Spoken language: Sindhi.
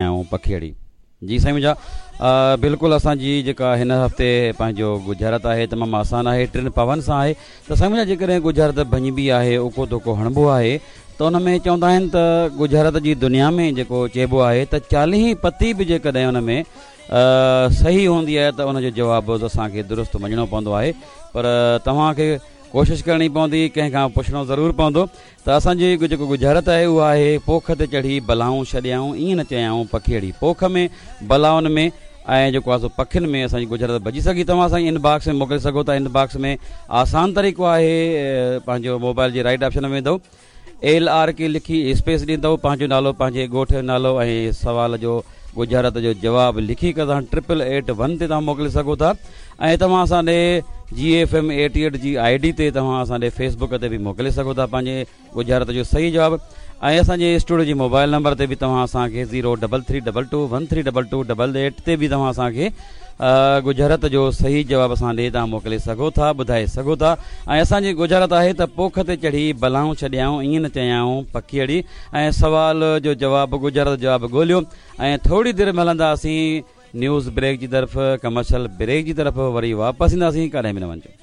چيائون پکيئڙي. جي سائين منهنجا بلڪل اسان جي جيڪا هن هفتي پنهنجو ڳجهارت آهي تمام آسان آهي ٽن پون سان آهي ته سائين منهنجا جيڪڏهن ڳجهارت ڀڃبي آهي اوڪو ڌوڪو هڻبو آهي ته ان ۾ چوندا آهن ته ڳجهارت جي دنيا ۾ جيڪو چئبو آهي ته چاليهين پتي به جيڪڏهن ان ۾ صحيح هوندي آهي ته ان جو جواب اسان کي درست مڃڻو پوندو آهي پر توهان کي ڪوشش ڪرڻي پوندي ڪنهن کان پڇڻو ضرور پوندو ته اسان جي جيڪو ڳجهارت آهي اها آهي پوک تي چڙهي بلائون ڇڏيائون ائين نه چيائون پکيئڙي پوک ۾ بلائن ۾ ۽ جيڪو آهي سو پکين ۾ اسان جي ڳجهارت ڀڄي سگهي توهان اسان جي ان باڪس ۾ موڪلي سگهو ٿا ان باڪس ۾ آسان طريقو آهي پنهنجو موبائل جي رائٽ آپشن ۾ ويندو ايل آر ڪي لکي اسپيس ڏيندو پنهنجو نالو پنهنجي ڳوٺ جو نالو ۽ سوال جو ڳجهارت جو جواب لکي ڪري توهان ٽرپل ايٽ ون تي توهان موڪلي سگهو ٿا ۽ توهان اسان ڏي جي ايف ايم ايٽي ايٽ جي I D تي توهان اسان ڏي فيس بڪ تي به موڪلي سگهو ٿا پنهنجي ڳجهارت جو صحيح جواب ۽ اسان جي اسٽوڊيو جي موبائل نمبر تي به توهان اسان کي zero double three double two one three double two double eight تي به توهان اسان کي ڳجهارت جو صحيح جواب اسان ڏي توهان موڪلي سگهو ٿا ٻڌائي سگهو ٿا ۽ اسان جي ڳجهارت آهي ته پوک تي چڙهي بلائون ڇڏيائون ائين نه چيائون پکيئڙي ۽ سوال جو جواب ڳجهارت جو جواب ڳوليو ۽ ٿوري دير ۾ هلنداسين نيوز بريڪ جي طرف ڪمرشل بريڪ جي طرف وري واپس اينداسين ڪاڏانهن به نه وڃجو.